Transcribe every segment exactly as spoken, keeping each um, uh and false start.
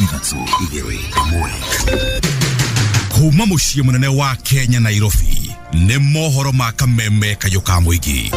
Ithatũ igĩrĩ ĩmwe. Kuma mũciĩ mũnene wa Kenya Nairobi nĩ mohoro ma kameme kayũ ka mũingĩ.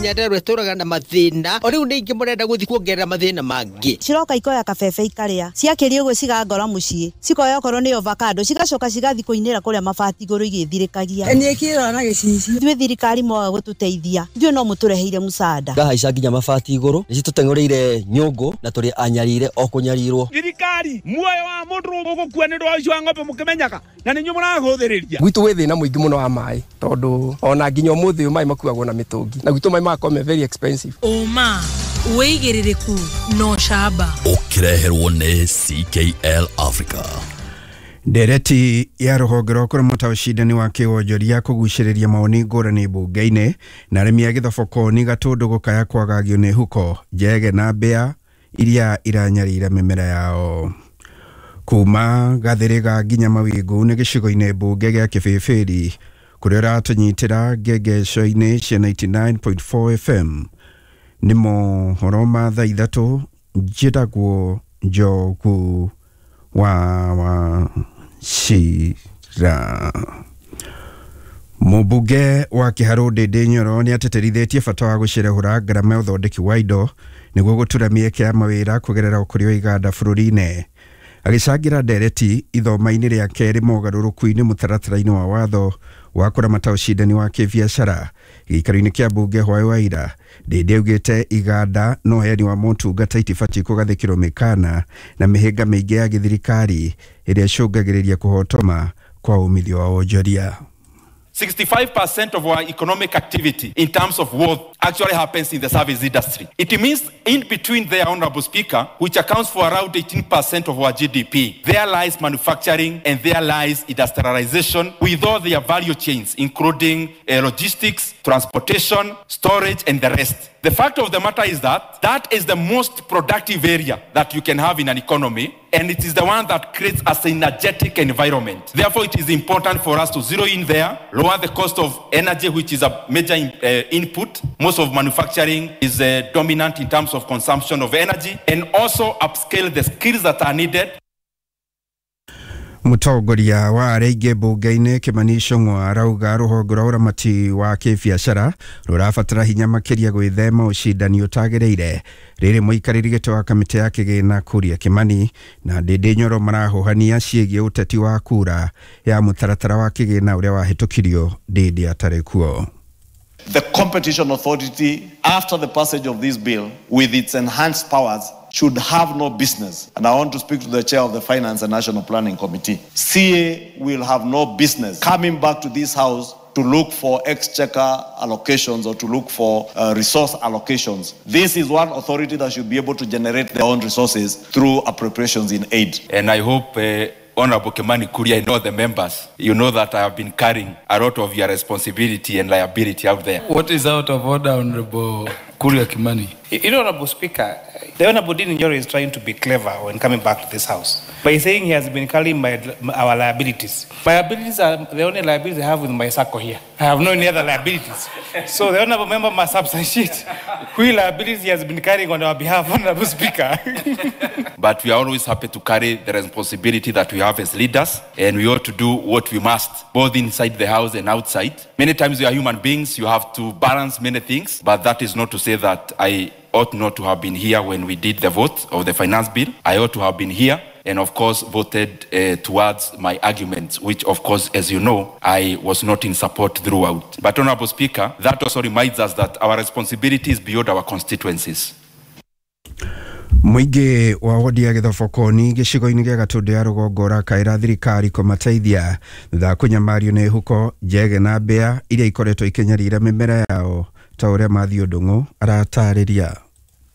Nyandarua ĩtũraga na mathĩna o rĩu nĩ ingĩ mũrenda gũthiĩ kuongerera mathĩna mangĩ. Ciroka ikoya kabebe ikarĩa ciakĩria ũguo cigangora mũciĩ cikoya okorwo nĩ avocado cigacoka cigathiĩ kũinĩra kũrĩa mabati igũrũ igĩthirĩkagia. Niĩ kĩrora na gĩcicio. Ithuĩ thirikari mwaga gũtũteithia ithuĩ no mũtũreheire mũcada. Ngahaica nginya mabati igũrũ nĩcitũteng'ũrĩire nyũngũ na tũrĩ anyarire o kũnyarirwo. Thirikari muoyo wa mũndũ ũgũkua nĩ ũndũ wa ũici wa ng'ombe mũkĩmenyaga na nĩ inyuĩ mũrahũthĩrĩria. Gwitũ gwĩ thĩna mũingĩ mũno wa maĩ tondũ ona nginya ũmũthĩ ũyũ maĩ makuagwo na mĩtũngi na gwitũ maĩ magakorwo me very expensive. Ũma wĩigĩrĩrĩku no camba. Ũkĩreherwo nĩ C K L Africa. Ndereti ya rũhonge rwa kũramata ũcindani wa kĩwonjoria kũgucĩrĩria mawoni ngũrani mbunge-inĩ na arĩmi a gĩthoboko Gatũndũ gũkaya kwagagio nĩ huko njege na mbĩa iria iranyarira mĩmera yao. Kuma Gathĩrĩga nginya Mawingu nĩ gĩcigo-inĩ mbunge gĩa Kĩbĩbĩri kũrĩa ũratũnyitĩra ngengeco-inĩ cia ninety-nine point four F M. Nĩ mohoro ma thaa ithatũ njĩtagwo Njogu wa Wachira. Mũmbunge wa Kĩharũ Ndĩndĩ Nyoro nĩ atĩtĩrithĩtie bata wa gũcerehũra ngarama ya ũthondeki wa indo nĩguo gũtura mĩeke ya mawĩra kũgerera ũkũria wa iganda bũrũri-inĩ. Agĩcangĩra ndereti ithoma-inĩ rĩa kerĩ mogarũrũku-inĩ mũtaratara-inĩ wa watho wa kũramata ũcindani wa kĩbiacara gĩikaro-inĩ kĩa mbunge hwaĩ wa ira. Ndĩndĩ augĩte iganda na ũheani wa motungata itibatiĩ kũgathĩkĩrwo mĩkana na mĩhĩnga mĩingĩ ya gĩthirikari ĩrĩa ĩcũngagĩrĩria kũhotoma kwa umithio wa wonjoria. sixty-five percent of our economic activity in terms of worth actually happens in the service industry. It means in between there, Honorable Speaker, which accounts for around eighteen percent of our G D P, there lies manufacturing and there lies industrialization with all their value chains, including uh, logistics, transportation, storage, and the rest. The fact of the matter is that that is the most productive area that you can have in an economy, and it is the one that creates a synergetic environment. Therefore, it is important for us to zero in there, lower the cost of energy, which is a major in, uh, input. Most of manufacturing is uh, dominant in terms of consumption of energy, and also upscale the skills that are needed. Mũtongoria wa arĩa aingĩ mbunge-inĩ Kĩmani Ichung'wa arauga rũhonge rwa ũramati wa kĩbiacara rũrabatara hinya makĩria gwĩthema ũcindani ũtagĩrĩire. Rĩrĩ mũikarĩri gĩtĩ wa kamĩtĩ ya kĩgĩna Kuria Kĩmani na Ndĩndĩ Nyoro marahũhania ciĩgiĩ ũteti wa kura ya mũtaratara wa kĩgĩna ũrĩa wahĩtũkirio Ndĩndĩ atarĩ kuo. The Competition Authority, after the passage of this bill, with its enhanced powers, should have no business. And I want to speak to the chair of the Finance and National Planning Committee. C A will have no business coming back to this house to look for exchequer allocations or to look for uh, resource allocations. This is one authority that should be able to generate their own resources through appropriations in aid. And I hope uh, Honorable Kimani Kuria and all the members, you know that I have been carrying a lot of your responsibility and liability out there. What is out of order, Honorable Kuria Kimani? You know, Honorable Speaker, the Honorable Ndindi Nyoro is trying to be clever when coming back to this house by saying he has been carrying my, our liabilities. My liabilities are the only liabilities I have with my circle here. I have no any other liabilities. So the Honorable Member must substantiate which liabilities he has been carrying on our behalf, Honorable Speaker. But we are always happy to carry the responsibility that we have as leaders, and we ought to do what we must, both inside the house and outside. Many times we are human beings, you have to balance many things, but that is not to say that I ought not to have been here when we did the vote of the finance bill. I ought to have been here and, of course, voted uh, towards my arguments, which, of course, as you know, I was not in support throughout. But, Honorable Speaker, that also reminds us that our responsibility is beyond our constituencies. Mũingĩ wa wodi ya Gĩthobokoni gĩcigo-inĩ gĩa Gatũndũ ya rũgongo ũrakaĩra thirikari kũmateithia thutha wa kũnyamario nĩ huko njege na mbĩa iria ikoretwo ikĩnyarira mĩmera yao ta ũrĩa Matthew Ndung'u aratarĩria.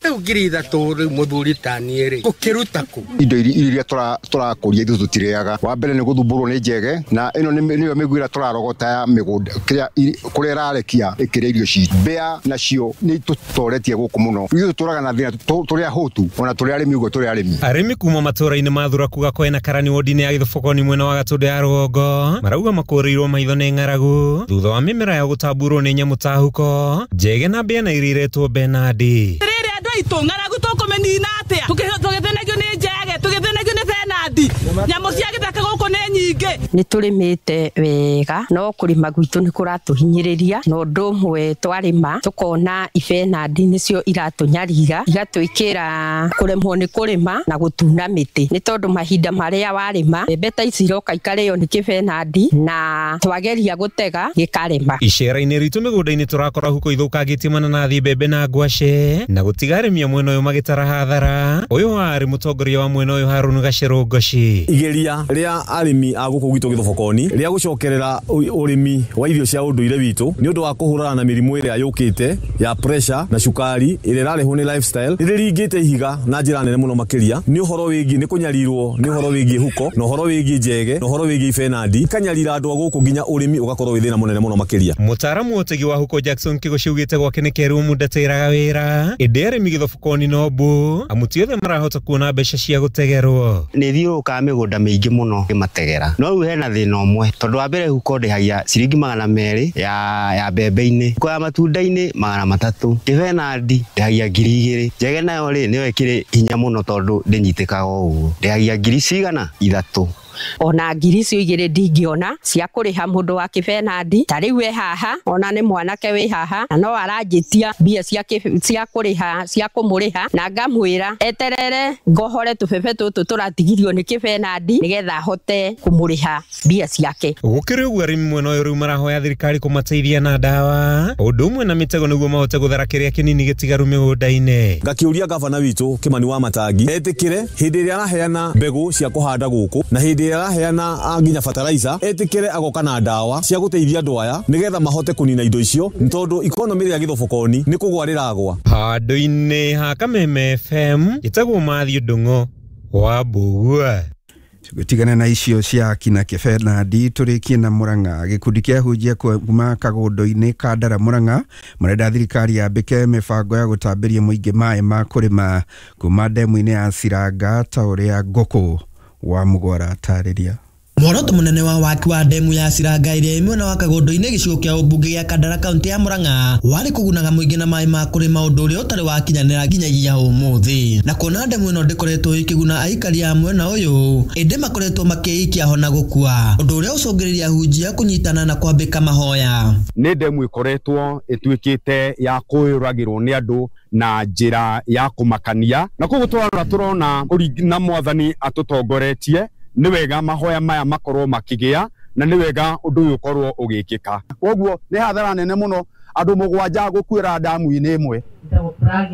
Rĩu ngiri ithatũ rĩu mũthuri ta niĩ rĩ ngũkĩruta kũ? Indo iria tũrakũria ithuĩ tũtirĩaga. Wa mbere nĩ gũthumbũrwo nĩ njege, na ĩno nĩyo mĩgua ĩrĩa tũrarogota ya mĩgũnda kĩrĩa kũrĩa ĩrarekia ĩkĩrĩa irio citũ. Mbĩa nacio nĩ itũtoretie gũkũ mũno. Ithuĩ tũtũraga na thĩna tũrĩ ahũtu ona tũrĩ arĩmi ũguo tũrĩ arĩmi. Arĩmi kuma matũra-inĩ ma Thuraku Gakoe na Karani wodi-inĩ ya Gĩthobokoni mwena wa Gatũndũ ya rũgongo marauga makũrĩirwo maitho nĩ ng'aragu thutha wa mĩmera yao gũtamburwo nĩ nyamũ ta huko njege na mbĩa na iria iretwo Benadi. Andũ aitũ ng'aragu tũkũmĩnina atĩa? Tũgĩthĩnagio nĩ njege, tũgĩthĩnagio nĩ kĩbenandi. Nyamũ cia gĩthaka gũkũ nĩ nyingĩ. Nĩ tũrĩmĩte wega no kũrĩma gwitũ nĩ kũratũhinyĩrĩria na ũndũ ũmwe twarĩma tũkona ibenandi nĩcio iratũnyarira igatwĩkĩra kũremwo nĩ kũrĩma na gũtuna mĩtĩ nĩ tondũ mahinda marĩa warĩma mbembe ta ici iroka ikarĩo nĩ kĩbenandi na twageria gũtega gĩkarema. Icera-inĩ ritũ mĩgũnda-inĩ tũrakora huko ithũkangĩtie mananathi, mbembe na ngwacĩ na gũtiga arĩmi a mwena ũyũ magĩtara hathara. Ũyũ warĩ mũtongoria wa mwena ũyũ Harũni Gacerũ Ngoci. Igeria rĩa arĩmi a gũkũ gwitũ Gĩthobokoni rĩa gũcokerera ũrĩmi wa irio cia ũndũire witũ nĩ ũndũ wa kũhũrana na mĩrimũ ĩrĩa yũkĩte ya pressure na cukari ĩrĩa ĩrarehwo nĩ lifestyle nĩ rĩringĩte ihiga na njĩra nene mũno makĩria nĩ ũhoro wĩgiĩ nĩ kũnyarirwo nĩ ũhoro wĩgiĩ huko na ũhoro wĩgiĩ njege na ũhoro wĩgiĩ ibenandi ikanyarira andũ a gũkũ nginya ũrĩmi ũgakorwo wĩ thĩna mũnene mũno makĩria. Mũtaaramu wa ũtegi wa huko Jackson Kĩgũci augĩte gwake nĩ kerũ mũndatĩraga wĩra ĩndĩ arĩmi Gĩthobokoni no mbu amu ti othe marahota kuona mbeca cia gũtegerwo. Nĩ thiũrũrũkaga mĩgũnda mĩingĩ mũno ngĩmategera no rĩu hena thĩna ũmwe tondũ wa mbere huko ndĩhagia ciringi magana merĩ ya ya mbembe-inĩ huko ya matunda-inĩ magana matatũ kĩbenandi ndĩhagia ngiri igĩrĩ njege nayo rĩ nĩyo ĩkĩrĩ hinya mũno tondũ ndĩnyitĩkaga ũguo ndĩhagia ngiri cigana ithatũ. Ona ngiri icio igĩrĩ ndingĩona cia kũrĩha mũndũ wa kĩbenandi ta rĩu e haha ona nĩ mwanake wĩ haha na no aranjĩtia mbia cia cia kũrĩha cia kũmũrĩha na ngamwĩra eterere ngohore tũbebe tũtũ tũratigirio nĩ kĩbenandi nĩgetha ahote kũmũrĩha mbia ciake. Gũkĩrĩ ũguo arĩmi mwena ũyũ rĩu marahoya thirikari kũmateithia na ndawa ũndũ ũmwe na mĩtego nĩguo mahote gũthara kĩrĩa kĩnini gĩtigaru mĩgũnda-inĩ. Ngakĩũria gavana witũ Kĩmani wa Matangi etĩkĩre hĩndĩ ĩrĩa araheana mbegũ cia kũhanda gũkũ na hĩndĩ ĩrĩa araheana nginya fertilizer etĩkĩre agoka na ndawa cia gũteithia andũ aya nĩgetha mahote kũnina indo icio nĩ tondũ economy ya Gĩthobokoni nĩ kũgwa rĩragwa. Handũ-inĩ ha Kameme F M ĩtagwo Mathiũ Ndung'o wa Mbugua. Tũgĩtigana na icio cia kina kĩbenandi tũrĩkie na Murang'a. Gĩkundi kĩa ahunjia kuma kagũndũ-inĩ ka Ndara Murang'a marenda thirikari yambĩke mĩbango ya gũtambĩria mũingĩ maĩ ma kũrĩma kuma ndemu-inĩ ya Ciranga ta ũrĩa Ngũkũ wa Mũgwara atarĩria. Muoroto munene wa waki wa ndemu ya Ciranga ĩrĩa ĩ mwena wa Kagũndũ-inĩ gĩcigo kĩa ũmbunge gĩa Kandara kaunti ya Murang'a warĩ kũgunaga mũingĩ na maĩ ma kũrĩma ũndũ ũrĩa ũtarĩ wakinyanĩra nginyagia ũmũthĩ na kuona ndemu ĩno ndĩkoretwo ĩkĩguna aikari a mwena ũyũ ĩndĩ makoretwo makĩikia ho na gũkua ũndũ ũrĩa ũcũngĩrĩria ahunjia kũnyitana na kwambĩka mahoya. Nĩ ndemu ĩkoretwo ĩtuĩkĩte ya kũyũragĩrwo nĩ andũ na njĩra ya kũmakania na koguo tũrarora tũrona na mwathani atũtongoretie nĩ wega mahoya maya makorwo makĩgĩa na nĩ wega ũndũ ũyũ ũkorwo ũgĩkĩka. Koguo nĩ hathara nene mũno andũ mũgwanja gũkuĩra ndamu-inĩ ĩmwe.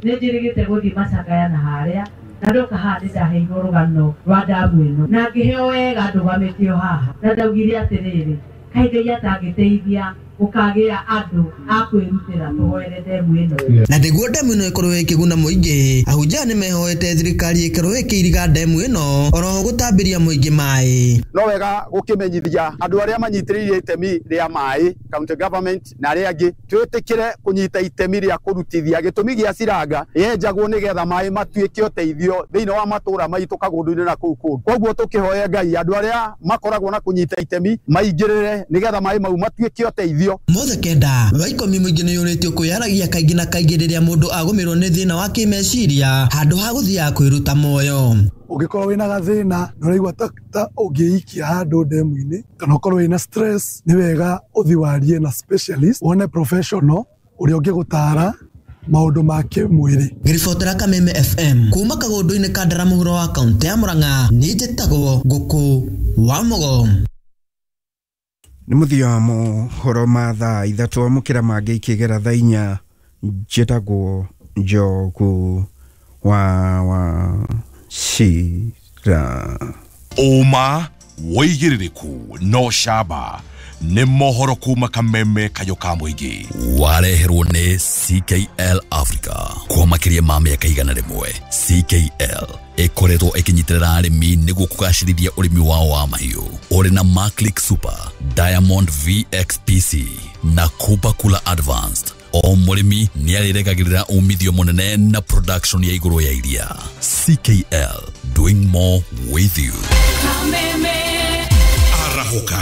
Nĩ njĩrĩgĩte gũthiĩ macakaya na harĩa na ndoka haha nĩ ndaheirwo rũgano rwa ndamu ĩno na ngĩheo wega ndũgamĩtio haha na ndaugire atĩrĩrĩ kaĩ Ngai atangĩteithia gũkagĩa andũ a kwĩrutĩra tũhoere ndemu ĩno. Na nĩguo ndemu ĩno ĩkorwo ĩkĩguna mũingĩ ahunjia nĩ mehoete thirikari ĩkorwo ĩkĩiriga ndemu ĩno oroho gũtambĩria mũingĩ maĩ. No wega gũkĩmenyithia andũ arĩa manyitĩrĩire itemi rĩa maĩ county government na arĩa angĩ twĩtĩkĩre kũnyita itemi rĩa kũrutithia gĩtũmi gĩa Ciranga yenjagwo nĩgetha maĩ matuĩke ũteithio thĩinĩ wa matũra maitũ Kagũndũ-inĩ na kũu kũngĩ. Koguo tũkĩhoe Ngai andũ arĩa makoragwo na kũnyita itemi maingĩrĩre nĩgetha maĩ mau matuĩke ũteithio. Mothe kenda wa ikũmi mũingĩ nĩ yũrĩtio kwĩyaragia kaingĩ na kaingĩ rĩrĩa mũndũ agũmĩrwo nĩ thĩna wa kĩmeciria handũ ha gũthiaga kwĩruta muoyo. Ũngĩkorwo wĩna gathĩna na ũraigua ta ta ũngĩikia handũ ndemu-inĩ kana ũkorwo wĩna stress nĩ wega ũthiĩ warie na specialist wone professional ũrĩa ũngĩgũtara maũndũ ma kĩmwĩrĩ. Ngĩribotera Kameme F M kuma Kagũndũ-inĩ ka Ndara mũhuro wa kaunti ya Murang'a nĩ njĩtagwo Ngũkũ wa Mũgo. Nĩ mũthia wa mohoro ma thaa ithatũ amũkĩra mangĩ ikĩgera thaa inya njĩtagwo Njogu wa wa Cira. Ũma wĩigĩrĩrĩku no camba nĩ mohoro kuma Kameme kayũ ka mũingĩ. Wareherwo nĩ C K L Africa kwa makĩria ma mĩaka igana rĩmwe. C K L ĩkoretwo ĩkĩnyitĩrĩra arĩmi nĩguo kũgacĩrithia ũrĩmi wao wa mahiũ ũrĩ na Maclick Super, Diamond V X P C na Kupa Kula Advanced. O mũrĩmi nĩ arĩregagĩrĩra umithio mũnene na production ya igũrũ ya iria. C K L, doing more with you. Kameme Arahũka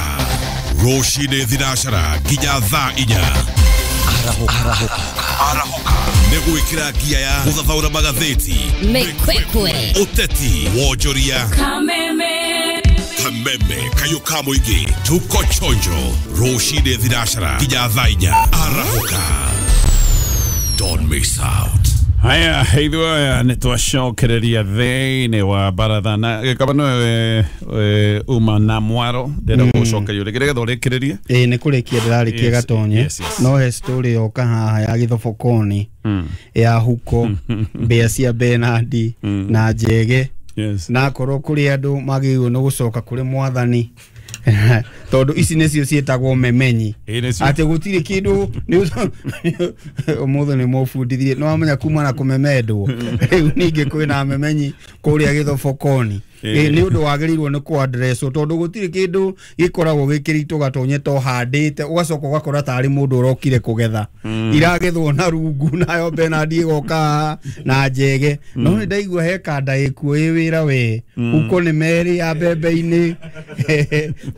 rũcinĩ thinacara nginya thaa inya. Arahũka Arahũka nĩ gwĩkĩra ngia ya gũthathaũra magathĩti Mĩkwekwe ũteti wonjoria Kameme. Kayũ ka mũingĩ tuko chonjo rũcinĩ thinacara nginya thaa inya. Arahũka, don't miss out. Haya, ithuĩ nĩ twacokereria thĩinĩ wa baratha na gĩkaba nĩwe uma na mwaro ndĩrenda gũcokerio rĩngĩ nĩgetha ũrĩkĩrĩrie. Ĩĩ nĩ kũrĩkia ndĩrarĩkia Gatonye. No he story yoka haha ya Gĩthobokoni ya huko mbĩa cia Benandi na Njege na akorwo kũrĩ andũ magĩrĩirwo nĩ gũcoka kũrĩ mwathani tondu ici nĩcio ciĩtagwo memenyi atĩ gũtirĩ kĩndũ ũmũthĩ nĩ mũbundithirie nĩ wamenya kuma na kũmemendwo rĩu ningĩ kwĩna memenyi kũrĩa Gĩthobokoni. Nĩ ũndũ wagĩrĩirwo nĩ kũ-addresswo tondũ gũtirĩ kĩndũ gĩkoragwo gĩkĩritũ Gatonye to handĩte ũgacoka ũgakora tarĩ mũndũ ũrokire kũgetha iragethwo na rungu nayo Benandi ĩgoka na Njege. No nĩ ndaigua he kanda ĩkuo ĩ wĩra we huko nĩ merĩ ya mbembe-inĩ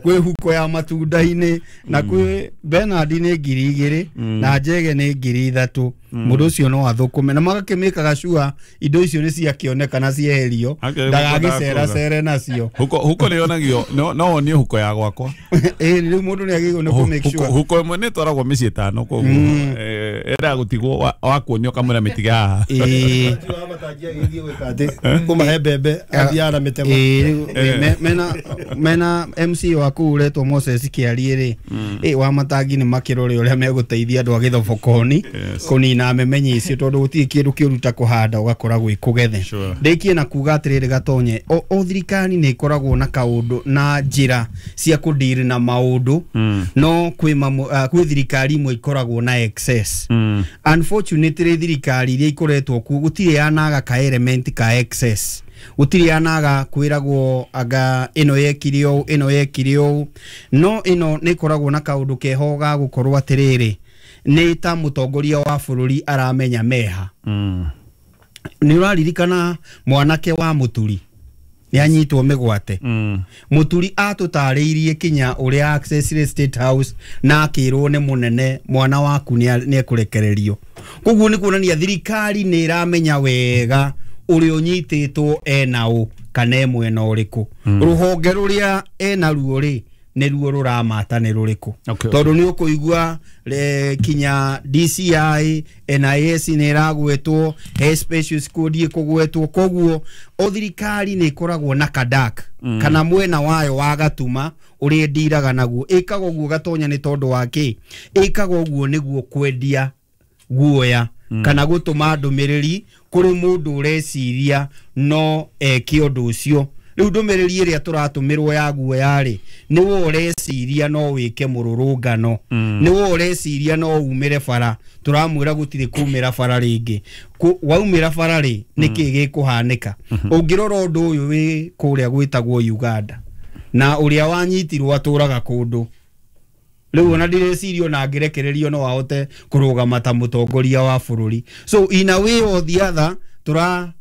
kwĩ huko ya matunda-inĩ na kwĩ Benandi nĩ ngiri igĩrĩ na Njege nĩ ngiri ithatũ. Mũndũ ũcio no athũkũme na magakĩmĩkaga cua indo icio nĩ ciakĩoneka na cieherio ndagagĩcera cere nacio. Huko huko nĩ yonagio no no wonio huko ya gwakwa. Ĩĩ rĩu mũndũ nĩ agĩrĩirwo nĩ kũ make sure huko ĩmwe nĩ ĩtwaragwo mĩciĩ ĩtano koguo ĩendaga gũtigwo wakuonio ũkamwĩra mĩtige haha. Ĩĩ kũmahe mbembe athiaga na mĩtego. Ĩĩ mena mena M C wa kũu ũretwo Moses Kĩarie rĩ ĩ wa matangi nĩ makĩrore ũrĩa megũteithia andũ a Gĩthobokoni kũnina memenyi icio tondũ gũtirĩ kĩndũ kĩũru ta kũhanda ũgakora gwĩ kũgethe. Ndĩkie na kuga atĩrĩrĩ Gatonye, o thirikari nĩ ĩkoragwo na kaũndũ na njĩra cia kũdeal na maũndũ no kwĩ kwĩ thirikari imwe ikoragwo na excess. Unfortunately thirikari iria ikoretwo kuo gũtirĩ yanaga ka element ka excess, gũtirĩ yanaga kwĩragwo anga ĩno yekire ũũ ĩno yekire ũũ, no ĩno nĩ ĩkoragwo na kaũndũ keho ga gũkorwo atĩrĩrĩ nĩ ta mũtongoria wa bũrũri aramenya meha. Nĩ ũraririkana mwanake wa Mũturi nĩ anyitwo mĩgwate. Mũturi atũtarĩirie kinya ũrĩa access State House na akĩrwo nĩ mũnene mwana waku nĩ ekũrekererio. Koguo nĩ kuonania thirikari nĩ ĩramenya wega ũrĩa ũnyitĩtwo ena ũ kana e mwena ũrĩkũ. Rũhonge rũrĩa ena ruo rĩ nĩ ruo rũramata nĩ rũrĩkũ tondũ nĩ ũkũigua kinya D C I N I S nĩ ĩragwetwo, he special squad ĩkũgwetwo. Koguo o thirikari nĩ ĩkoragwo na kadak kana mwena wayo wa gatuma ũrĩa ĩndiraga naguo. Ĩkaga ũguo Gatonya nĩ tondũ wa kĩ? Ĩkaga ũguo nĩguo kwendia guoya kana gũtũma ndũmĩrĩri kũrĩ mũndũ ũreciria no eke ũndũ ũcio. Rĩu ndũmĩrĩri ĩrĩa tũratũmĩrwo ya guoya rĩ nĩwe ũreciria no wĩke mũrũrũngano, nĩwe ũreciria no umĩre bara, tũramwĩra gũtirĩ kumĩra bara rĩngĩ. Waumĩra bara rĩ nĩkĩ gĩkũhanĩka? Ũngĩrora ũndũ ũyũ wĩ kũrĩa gwĩtagwo Uganda na ũrĩa wanyitirwo atũraga kũndũ rĩu ona ndireciria ona angĩrekererio no ahote kũrũgama ta mũtongoria wa bũrũri. So in a way or the other tũra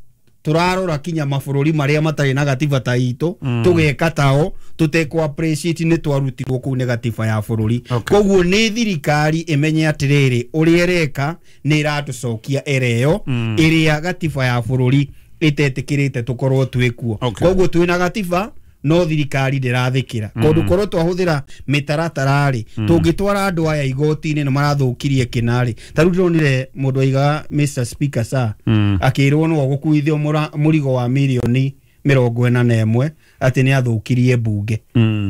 turarora kinya mabũrũri marĩa matarĩ na gatiba ta itũ tũgeka tao tũtekũ appreciate nĩ twarutirwo kũu nĩ gatiba ya bũrũri. Koguo nĩ thirikari ĩmenye atĩrĩrĩ ũrĩa ĩreka nĩ ĩratũcokia ĩreo ĩrĩa gatiba ya bũrũri ĩtetĩkĩrĩte tũkorwo twĩkuo. Koguo twĩna gatiba no thirikari ndĩrathĩkĩra kũndũ korwo twahũthĩra mĩtaratara rĩ tũngĩtwara andũ aya igoti-inĩ nĩ marathũkirie kĩna rĩ. Ta rĩu ndĩronire mũndũ aigaga Mister Speaker sir akĩrwo no gũkuithio mũrigo wa mirioni mĩrongo ĩna na ĩmwe atĩ nĩ athũkirie mbunge.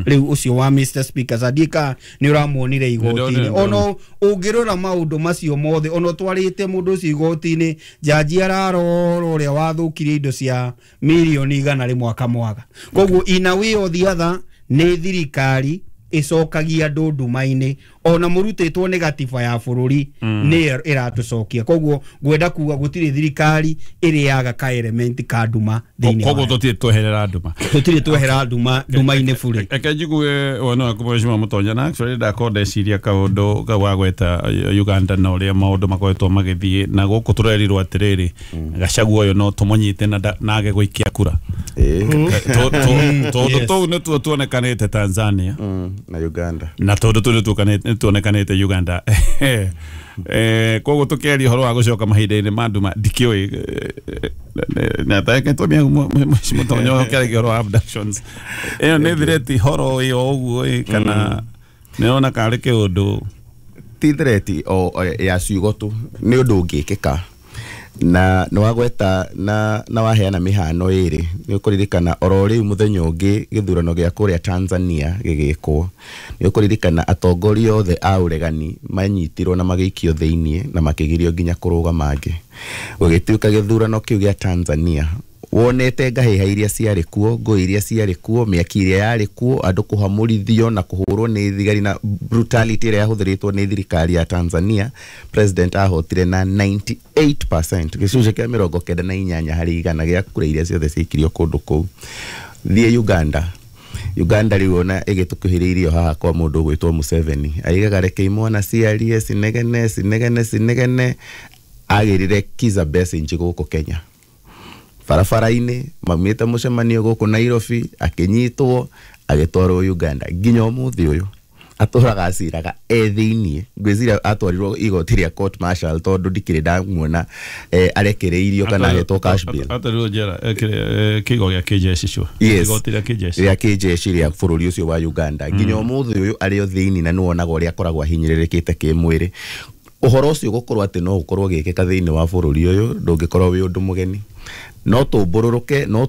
Rĩu ũcio wa Mister Speaker sir ndiĩka nĩ ũramuonire igoti-inĩ. Ono ũngĩrora maũndũ macio mothe ono twarĩte mũndũ ũcio igoti-inĩ jaji ararora ũrĩa wathũkirie indo cia mirioni igana rĩmwe akamwaga. Koguo in a way or the other nĩ thirikari ĩcokagia andũ nduma-inĩ ona mũrutĩtwo nĩ gatiba ya bũrũri nĩ ĩratũcokia. Koguo ngwenda kuga gũtirĩ thirikari ĩrĩaga ka element ka nduma thĩinĩ. Koguo tũtirĩ tweherera nduma, tũtirĩ twehera nduma nduma-inĩ bure. Reke njigue wona waku Mheshimiwa Mũtonya na actually ndakorwo ndeciria kaũndũ kau wagweta Uganda na ũrĩa maũndũ makoretwo magĩthiĩ na gũkũ tũrerirwo atĩrĩrĩ Gachagua ũyũ no tũmũnyite na age gũikia kura tondũ tũu nĩtuo tuonekanĩte Tanzania na Uganda na tondũ tũu nĩtuonekanĩte tuonekanĩte Uganda. Eh koguo tukiaria ũhoro wa gũcoka mahinda-inĩ ma nduma ndikĩũĩ na ta tumia mũtonyo kĩaragia ũhoro wa abductions ĩyo nĩ thireti horo ĩyo ũguo kana nĩona karĩ kĩũndũ ti thireti o ya ciugo tu nĩ ũndũ ũngĩkĩka na nĩ wagweta na na waheana mĩhano ĩrĩ nĩ ũkũririkana oro rĩu mũthenya ũngĩ gĩthurano gĩa kũrĩa Tanzania gĩgĩkwo nĩ ũkũririkana atongoria othe a ũregani manyitirwo na magĩikio thĩiniĩ na makĩgirio nginya kũrũgama angĩ gũgĩtuĩka gĩthurano kĩu gĩa Tanzania wonete ngahĩha iria ciarĩ kuo ngũĩ iria ciarĩ kuo mĩaki ĩrĩa yarĩ kuo andũ kũhamũrithio na kũhũrwo nĩ thigari na brutality ĩrĩa yahũthĩrĩtwo nĩ thirikari ya Tanzania. President ahotire na ninety-eight percent gĩcunjĩ kĩa mĩrongo kenda na inyanya harĩ igana gĩa kura iria ciothe ciaikirio kũndũ kũu. Thiĩ Uganda Uganda rĩu ona ĩgĩtũkuhĩrĩirio haha kwa mũndũ ũgwĩtwo Museveni aigaga reke imwana ciarie cinegene cinegene cinegene agĩrire Kizza Besigye gũkũ Kenya barabara-inĩ maumĩte mũcemanio gũkũ Nairobi akĩnyitwo agĩtwarwo Uganda nginya ũmũthĩ ũyũ atũraga aciraga e thĩiniĩ ngwĩciria atwarirwo igoti rĩa court martial tondũ ndikĩrĩ ndamuona arekereirio kana ahetwo cash bail atwarirwo njera kĩigo gĩa kĩjeshi cio igoti rĩa kĩjeshi rĩa kĩjeshi rĩa bũrũri ũcio wa Uganda nginya ũmũthĩ ũyũ arĩ o thĩiniĩ na nĩwonaga ũrĩa akoragwo ahinyĩrĩrĩkĩte kĩmwĩrĩ. Ũhoro ũcio gũkorwo atĩ no ũkorwo ũgĩkĩka thĩinĩ wa bũrũri ũyũ ndũngĩkorwo wĩ ũndũ mũgeni no tũmbũrũrũke no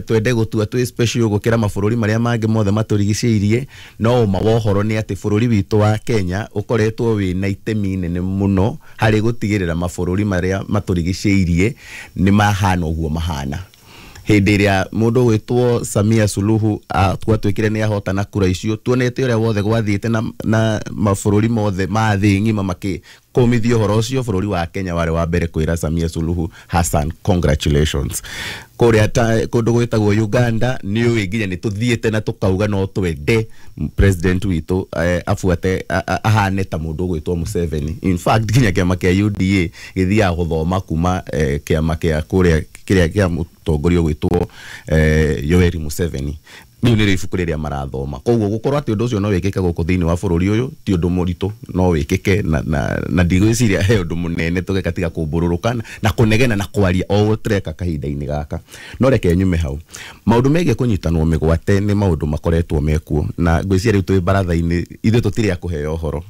twende gũtua twĩ special gũkĩra mabũrũri marĩa mangĩ mothe matũrigicĩirie no ũma wa ũhoro nĩ atĩ bũrũri witũ wa Kenya ũkoretwo wĩna itemi nene mũno harĩ gũtigĩrĩra mabũrũri marĩa matũrigicĩirie nĩ mahana ũguo mahana. Hĩndĩ ĩrĩa mũndũ gwĩtwo Samia Suluhu twatuĩkire nĩ ahotana kura icio tuonete ũrĩa wothe gwathiĩte na, na mabũrũri mothe ma thĩ ng'ima makĩkũmithia ũhoro ũcio bũrũri wa Kenya warĩ wa mbere kwĩra Samia Suluhu Hassan congratulations. Kũrĩa kũndũ gwĩtagwo Uganda nĩ ũĩ nginya nĩ tũthiĩte na tũkauga no twende president witũ eh, abuate ahane ta mũndũ ũgwĩtwo Museveni. In fact nginya kĩama kĩa U D A gĩthiaga gũthoma kuma eh, kĩama kĩa kũrĩa kĩrĩa kĩa mũtongoria ũgwĩtwo eh, Yoweri Museveni rĩu nĩrĩo ibuku rĩrĩa marathoma. Koguo gũkorwo atĩ ũndũ ũcio no wĩkĩke gũkũ thĩinĩ wa bũrũri ũyũ ti ũndũ mũritũ no wĩkĩke na, na, na ndigwĩciria he ũndũ mũnene tũgeka tiga kũmbũrũrũka na kũnegena na kwaria o ũguo tũreka kahinda-inĩ gaka. No reke nyume hau maũndũ megiĩ kũnyitanwo mĩgwate nĩ maũndũ makoretwo mekuo na ngwĩciria rĩu twĩ baratha-inĩ ithuĩ tũtirĩ a kũheo ũhoro.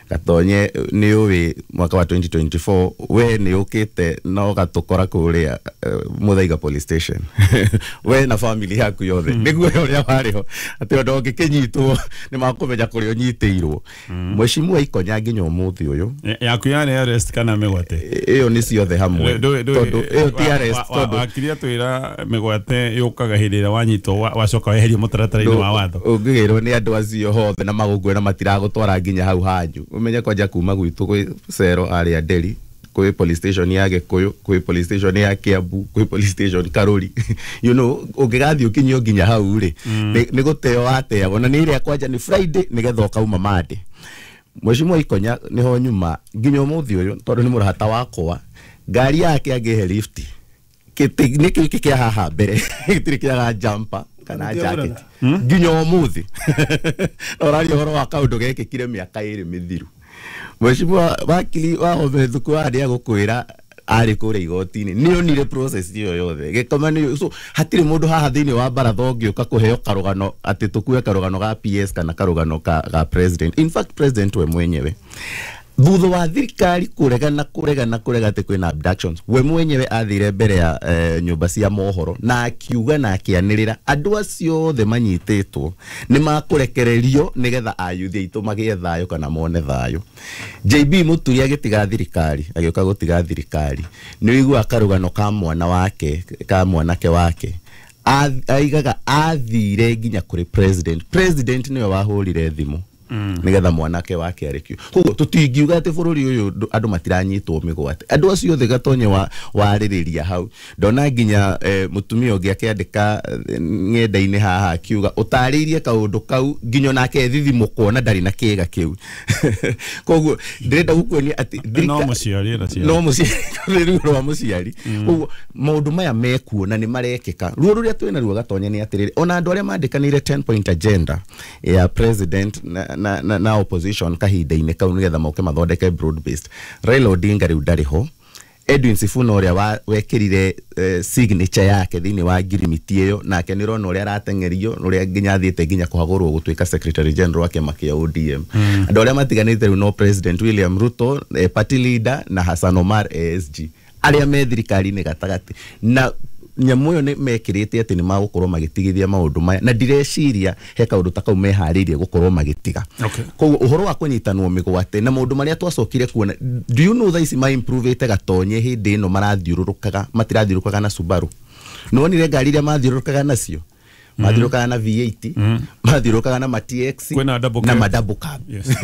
Gatonye nĩ ũĩ mwaka wa twenty twenty-four we nĩ ũkĩte na ũgatũkora kũrĩa uh, Muthaiga police station we na family yaku yothe nĩguo ũrĩa warĩ ho atĩ ũndũ ũngĩkĩnyitwo nĩ makũmenya kũrĩa ũnyitĩirwo. Mheshimiwa Ikonya nginya ũmũthĩ ũyũ yaku yarĩ arrest kana mĩgwate ĩyo nĩ ciothe hamwe tondũ ĩyo ti arrest tondũ wakiria twĩra mĩgwate yũkaga hĩndĩ ĩrĩa wanyitwo wacoka weherio mũtaratara-inĩ wa watho ũngĩgĩrwo nĩ andũ acio hothe na magũkue na matiragũtwara nginya hau hanyu ũmenye kwanja kuma gwitũ gwĩ cero arĩa Nderi kwĩ police station ya Gĩkũyũ kwĩ police station ya Kiambu kwĩ police station Karuri you know ũngĩgathiĩ ũkinyio nginya hau rĩ nĩ gũteo wateagwo na nĩ ĩrĩa kwanja nĩ Friday nĩgetha ũkauma Monday. Mheshimiwa Ikonya nĩho nyuma nginya ũmũthĩ ũyũ tondũ nĩ mũrata wakwa ngari yake angĩhe lift kĩtĩ nĩ kĩu kĩa haha mbere gĩtirĩ kĩaga jumper kana jacket nginya ũmũthĩ na ũraria ũhoro wa kaũndũ gekĩkire mĩaka ĩrĩ mĩthiru. Mheshimiwa wakili wa Home Thuku arĩa gũkwĩra arĩ kũrĩa igoti-inĩ nĩ onire process ĩyo yothe gĩkoma nĩ so hatirĩ mũndũ haha thĩinĩ wa baratha ũngĩũka kũheo karũgano atĩ tũkue karũgano ga P S kana karũgano ka, ga president. In fact president we mwenyewe thutha wa thirikari kũregana kũregana kũrega atĩ kwĩna abductions we mwenyewe athire mbere ya eh, nyũmba cia mohoro na akiuga na akĩanĩrĩra andũ acio othe manyitĩtwo nĩ makũrekererio nĩgetha ayuthi aitũ magĩe thayũ kana mone thayũ. J B Muturi agĩtiga thirikari agĩũka gũtiga thirikari nĩ ũiguaga karũgano ka mwana wake ka mwanake wake aigaga athire nginya kũrĩ president president nĩwe wahũrire thimũ nigetha mwanake wake arekio. Koguo tutingiuga ati bururi uyu andu matiranyitwo migwate andu acio othe Gatonye wa waririria hau ndona nginya eh, mutumia ungi akiandika ng'enda-inĩ haha akiuga utaririe kaundu kau nginya nake thithimukwo na ndari na kiga kiu. Koguo ndirenda gukuonia ati no muciari na no muciari ruo rwa muciari. Koguo maundu maya mekuo na ni marekeka ruo ruria twina ruo Gatonye ni atiriri ona andu aria mandikanire ten point agenda ya president na, na, na, na opposition kahinda-inĩ kau nĩgetha moke mathondeke broad based. Raila Odinga rĩu ndarĩ ho. Edwin Sifuna ũrĩa wekĩrire eh, signature yake thĩinĩ wa ngirimiti ĩyo, nake nĩ ũrona ũrĩa arateng'erio, ũrĩa nginya athiĩte nginya kũhagũrwo gũtuĩka secretary general wa kĩama kĩa O D M. Mm. Andũ arĩa matiganĩte rĩu no President William Ruto, eh, party leader, na Hassan Omar A S G, arĩa me thirikari-inĩ gatagatĩ. Na nyamũ ĩyo nĩ mekĩrĩte atĩ nĩ magũkorwo magĩtigithia maũndũ maya, na ndireciria he kaũndũ ta kau meharĩirie gũkorwo magĩtiga. Okay. Koguo ũhoro wa kũnyitanwo mĩgwate na maũndũ marĩa twacokire kuona, do you know thaa ici ma improve-ĩte Gatonye hĩndĩ ĩno marathiũrũrũkaga, matirathiũrũrũkaga na Subaru. Nĩwonire ngari iria mathiũrũrũkaga nacio? Mathiũrũrũkaga na V eight, mathiũrũrũkaga na ma T X, na ma double cab.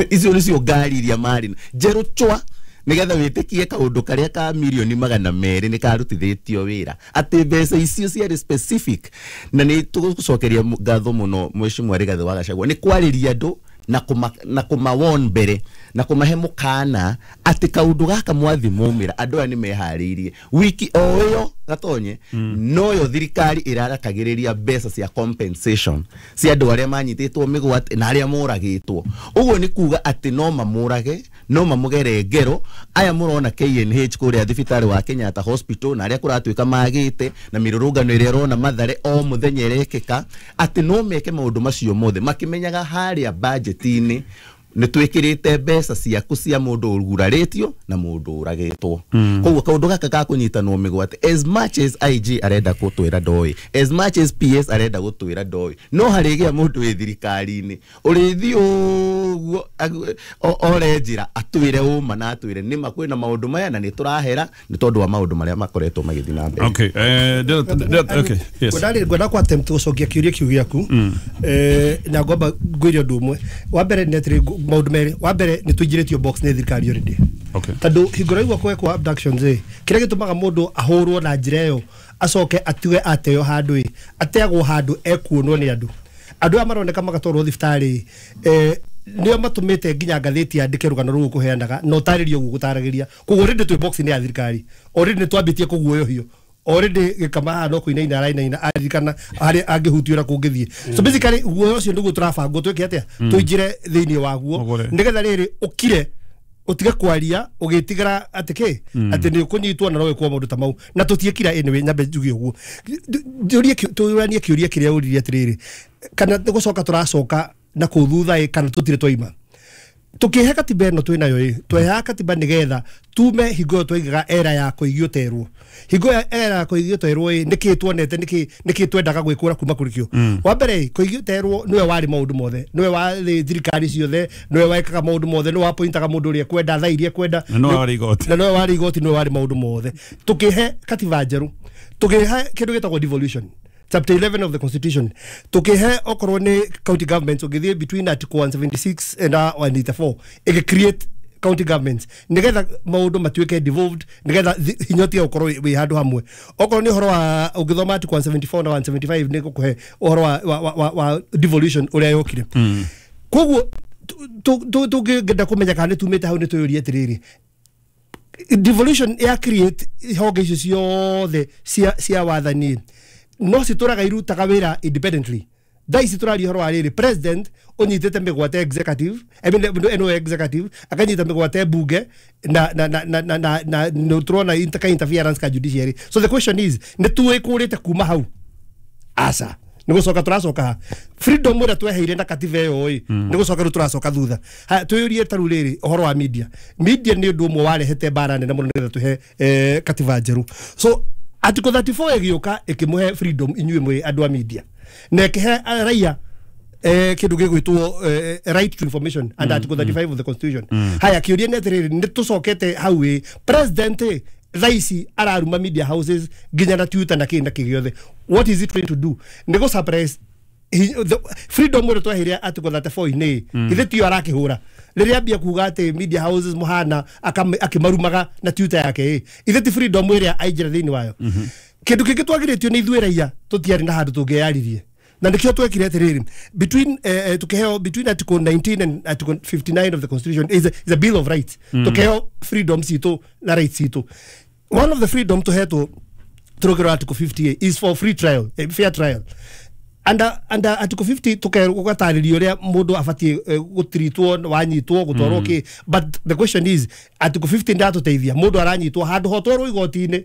Icio nĩcio ngari iria marĩ njerũ chwa, nigetha wĩtĩkie kaũndũ karĩa ka milioni magana merĩ nĩ karutithĩtio wĩra, atĩ mbeca icio ciarĩ specific. Na nĩ tũgũcokeria ngatho mũno Mheshimiwa Rigathĩ wa Gachagua nĩ kwarĩria andũ na kuma na kumawon mbere na kumahe mukana atĩ kaũndũ gaka mwathi mumĩra andũ aya nĩ meharĩirie. Wiki o ĩyo Gatonye, mm. noyo thirikari ĩrarakagĩrĩria mbeca cia compensation cia andũ arĩa manyitĩtwo mĩgwate na arĩa moragĩtwo. Ũguo nĩ kuga atĩ no mamũrage, no mamũgere ngero. Aya mũrona K N H kũrĩa thibitarĩ wa Kenyatta Hospital na arĩa kũratuĩka magĩte na mĩrũrũngano ĩrĩa ĩrona Mathare o mũthenya ĩrekĩka, atĩ no meke maũndũ macio mothe makĩmenyaga harĩa budget-inĩ nĩ twĩkĩrĩte mbeca ciaku cia mũndũ ũgurarĩtio na mũndũ ũragĩtwo. Koguo kaũndũ gaka ga kũnyitanwo mĩgwate, as much as I G arenda gũtwĩra ndoĩ, as much as P S arenda gũtwĩra ndoĩ, no harĩgĩa mũndũ wĩ thirikari-inĩ ũrĩthiĩ ũguo ore njĩra atwĩre ũma na atwĩre nĩma kwĩna maũndũ maya na nĩ tũrahera nĩ tondũ wa maũndũ marĩa makoretwo magĩthiĩ na mbere. Okay, eh, okay, yes. Ngwenda kwa attempt gũcokia kĩũria kĩu gĩaku, eh, na ngwamba ngwĩre ũndũ ũmwe. Wa mbere nĩ atĩrĩ, maũndũ merĩ. Wa mbere nĩ tũingĩrĩtio box nĩ thirikari already. Okay. Tondũ hingo ĩrĩa gwekwo abductions ĩ, kĩrĩa gĩtũmaga mũndũ ahũrwo na njĩra ĩyo acoke atiwe ateo handũ ĩ, ateagwo handũ ekuonwo nĩ andũ. Andũ aya maroneka magatwarwo thibitarĩ, eh, nĩo matũmĩte nginya ngathĩti yandĩke rũgano rũu kũheanaga na ũtarĩrie ũguo gũtaragĩria. Koguo already twĩ box nĩ ya thirikari, already nĩ twambĩtie kũguoyohio, already gĩkama haha no kũinaina arainaina aririkana harĩa angĩhutio na kũngĩthiĩ. So basically guoya ũcio nĩguo tũrabangwo twĩke atĩa, tũingĩre thĩinĩ waguo nĩgetha rĩrĩ ũkire ũtige kwaria ũgĩtigĩra atĩ kĩ, atĩ nĩ ũkũnyitwo na no wĩkwo maũndũ ta mau, na tũtiĩkira anyway. Nyambe njuge ũguo, njũrie tũranie kĩũria kĩrĩa ũririe atĩrĩrĩ, kana nĩ gũcoka tũracoka na kũu thutha ĩ, kana tũtirĩ twaima. Tukihe katiba ĩno twĩnayo ĩ, twehaga katiba nĩgetha tume hingo ĩyo twaigaga era ya kũigio terwo. Hingo ĩyo era ya kũigio terwo ĩ, nĩkĩ tuonete, nĩkĩ nĩkĩ twendaga gwĩkũra kuma kũrĩ kĩo. Wa mbere ĩ, kũigio terwo nĩwe warĩ maũndũ mothe, nĩwe warĩ thirikari ciothe, nĩwe wekaga maũndũ mothe, nĩwe wapointaga mũndũ ũrĩa ekwenda, thaa iria ekwenda, na nĩwe warĩ igoti, na nĩwe warĩ igoti, nĩwe warĩ maũndũ mothe. Tukihe katiba njerũ, tukihe kĩndũ gĩtagwo devolution, chapter eleven of the constitution, tukihe okorwo ni county governments ũngĩthiĩ between article one seventy-six and one eighty-four ĩgĩ create county governments nigetha maũndũ matuĩke devolved, nigetha hinya ũtige gũkorwo wĩ handũ hamwe. Okorwo nĩ ũhoro wa ũngĩthoma article one seventy-four na one seventy-five nĩ gũkũhe ũhoro wa, wa, wa, wa devolution ũrĩa yokire. Koguo tũngĩenda kũmenya kana nĩ tumĩte hau nĩ twĩyũrie atĩrĩrĩ, devolution ya create honge icio ciothe cia cia wathani no citũraga irutaga wĩra independently. Thaa ici tũraria ũhoro wa rĩrĩ, president ũnyitĩte mĩgwate executive, I mean, ĩno executive akanyita mĩgwate bunge na na na na na na na nĩ tũrona inter interference ka judiciary. So the question is, nĩ tuĩkũrĩte kuma hau? Aca, nĩ gũcoka tũracoka ha freedom ũrĩa tweheire na katiba ĩyo ĩ, nĩ gũcoka rĩu tũracoka thutha. Ha twĩyũrie ta rĩu rĩrĩ ũhoro wa media. Media nĩ ũndũ ũmwe warehete mbara nene mũno nĩgetha tũhe eh, katiba njerũ. So article thirty-four ĩgĩũka ĩkĩmũhe freedom inyuĩ mwĩ andũ a media, na ĩkĩhe raia eh, kĩndũ gĩgwĩtwo eh, right to information and article thirty-five of the constitution. Haya kĩũria nĩ atĩrĩrĩ, nĩ tũcokete hau ĩ, president ĩ thaa ici araruma media houses nginya na Twitter na kĩ na kĩ gĩothe. What is it trying to do? Nĩ gũ suppress freedom ũrĩa tweheire article thirty-four inĩ, ithe tiyo arakĩhũra rĩrĩa ambia kuga atĩ media houses mũhana akĩmarumaga na Twitter yake ĩ, ithe ti freedom ĩrĩa aingĩra thĩinĩ wayo. Kĩndũ kĩngĩ twagirĩtio nĩ ithuĩ raia tũtiarĩ na handũ tũngĩyaririe, na nĩkĩo twekire atĩrĩrĩ, between eh, tukĩheo between article nineteen and article fifty-nine of the constitution is a, is a bill of rights. Tukĩheo freedom citũ na rights citũ. One of the freedom tũhetwo tũrũgĩro article fifty-eight is for free trial, eh, fair trial. Under under article fifty tukerwo gũgatarĩrio ũrĩa mũndũ abatiĩ eh, gũtiritwo wanyitwo gũtwarwo kĩ. But the question is, article fifty ndatũteithia mũndũ aranyitwo handũ hotwarwo igoti-inĩ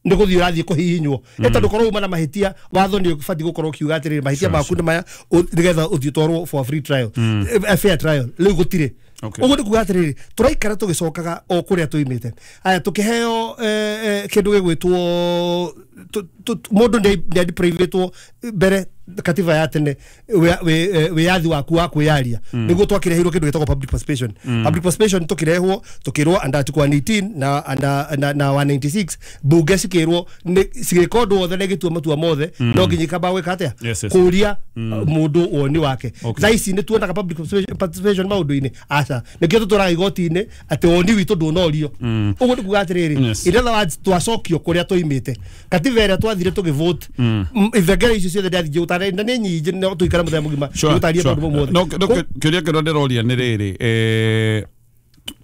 nĩ gũthiĩ ũrathiĩ kũhihinywo mm. Tondũ korwo uma na mahĩtia, watho nĩ ũbatiĩ gũkorwo ũkiuga atĩrĩrĩ, mahĩtia maku nĩ maya, ũ- nĩgetha ũthiĩ ũtwarwo for a free trial, Mm. a fair trial. Rĩu gũtirĩ. Okay. Ũguo nĩ kuga atĩrĩrĩ, tũraikara tũgĩcokaga o kũrĩa tũimĩte. Aya, tũkĩheo eh, eh, kĩndũ gĩgwĩtwo tu- tu- mũndũ nĩ adeprivatwo mbere katiba ya tene wĩ- wĩ- eh, wĩyathi waku wa kwĩyaria, Mm. nĩguo twakĩreheirwo kĩndũ gĩtagwo public participation. Mm. Public participation tũkĩrehwo, tũkĩrwo under article one eighteen na under na, na one ninety-six, bunge cikĩrwo nĩ- cigĩka ũndũ wothe na igĩtua matua mothe, Mm. no nginya ikamba gwĩka atĩa? Yes, yes. Kũria Mm. mũndũ woni wake. Okay. Thaa ici nĩ tuonaga public participation- participation maũndũ-inĩ? Aca. Nĩkĩo tũtwaraga igoti-inĩ atĩ woni witũ ndũnorio. Mm. Ũguo nĩ kuga atĩrĩrĩ, Yes. in other words, twacokio kũrĩa tũimĩte. Katiba ĩrĩa twathire tũgĩvote, Mm. m- ibengere icio ciothe ndiathiĩ gũtarĩria na nĩ nyingĩ, no tũikare mũthenya mũgima Sure, gũtarĩria sure. maũndũ mau mothe. No, no, kĩũria kĩrĩa ndĩroria nĩ rĩrĩ, eh,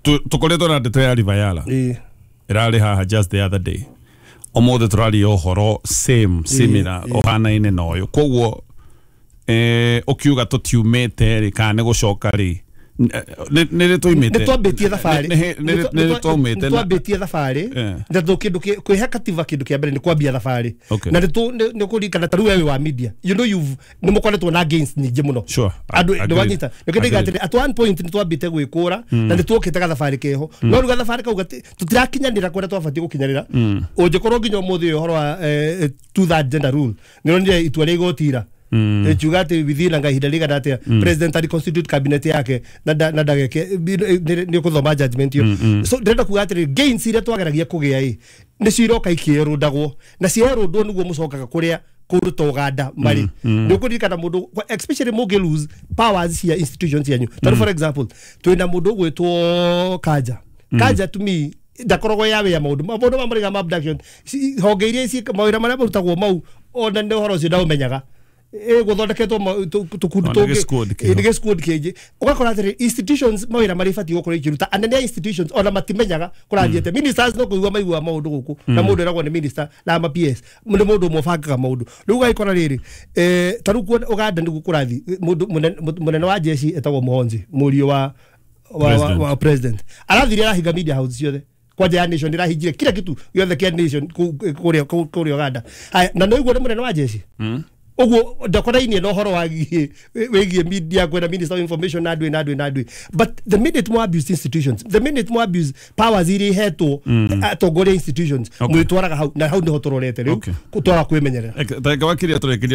tu- tũkoretwo na ndeto ya River Yala ĩrarĩ haha just the other day. Ũmũthĩ tũraria ũhoro same similar, ũhanaine na ũyũ. Koguo eh, ũkiuga tũtiumĩte rĩ, kana nĩ gũcoka rĩ, nĩ nĩ rĩ tũimĩte? Nĩ twambĩtie thabarĩ. Nĩ- nĩ- nĩ rĩ twaumĩte Nĩ na- twambĩtie thabarĩ. Eh. Na tũ kĩndũ kĩ- kwĩhe katiba, kĩndũ kĩa mbere nĩ kwambia thabarĩ. Okay. Na nĩ tũ- nĩ nĩ kũririkana ta rĩu wewe wa media, you know you've nĩ mũkoretwo na gains nyingĩ mũno. Sure. Andũ Agreed. nĩ wanyita nĩkĩo ndaiga Agreed. atĩrĩ, at one point nĩ twambĩte gwĩkũra Mm. na nĩ tuokĩte gathabarĩ keho, Mm. no rĩu gathabarĩ kau gati- tũtirakinyanĩra kũrĩa twabatiĩ gũkinyanĩra. Mm. Ũngĩkorwo nginya ũmũthĩ ũyũ ũhoro wa eh, eh, two third gender rule, nĩ ronire itua rĩa igoti ira Mm. ĩkiuga atĩ within anga ihinda rĩigana atĩa Mm. president ari constitute cabinet yake na nda- na ndageke nĩ ũkũthoma judgment ĩyo. Mm, mm. So ndĩrenda kuga atĩrĩ, gains iria twageragia kũgĩa ĩ nĩcio iroka ikĩerũndagwo, na cierũndwo nĩguo mũcokaga kũrĩa kũndũ ta Ũganda marĩ. Mm, mm. Nĩ ũkũririkana mũndũ, especially mũngĩ lose powers cia institutions cianyu. Tondũ Mm. for example, twĩna mũndũ ũgwĩtwo Kanja. Mm. Kanja to me ndakoragwo ya wĩa maũndũ maũndũ ma marĩga ma abduction. Ci- honge iria ci mawĩra marĩa marutagwo mau, ona nĩ ũhoro ũcio ndaũmenyaga, gũthondeketwo tũkundi Ona tũngĩ. gĩ-squad kĩho. Ĩ, nĩ gĩ-squad kĩngĩ. Ũgakora atĩrĩ, institutions mawĩra marĩa ibatiĩ gũkorwo ikĩruta, anene a institutions ona matimenyaga kũrathiĩ atĩa. Ministers no kũigua maiguaga maũndũ gũkũ, na Mm. mũndũ eragwo nĩ minister na ma P S nĩ mũndũ ũmwe ũbangaga maũndũ. Rĩu ũgagĩkora rĩrĩ, eh, ta rĩu kuona Ũganda nĩguo kũrathiĩ. Mũndũ mũnene mũnene wa jeshi etagwo Muhonzi, mũriũ wa wa, wa, President. wa president, arathire arahinga media house ciothe, kwanja ya Nation ĩrahingire kila kitu gĩothe kĩa Nation kũu- kũrĩa kũu- kũrĩa Ũganda. Haya, na nĩ ũguo nĩ mũnene wa jeshi, Mm. ũguo ndakorainie na ũhoro wagiĩ wĩgiĩ media, kwĩna minister of information na ndwĩ na ndwĩ na ndwĩ. But the minute mo abuse institutions, the minute mo abuse powers iria ihetwo Mm. atongoria institutions, Okay. mwĩtwaraga hau, na hau nĩho tũrorete rĩu Okay. twara kwĩmenyerera. Tareke wakiria tũrĩkĩrie.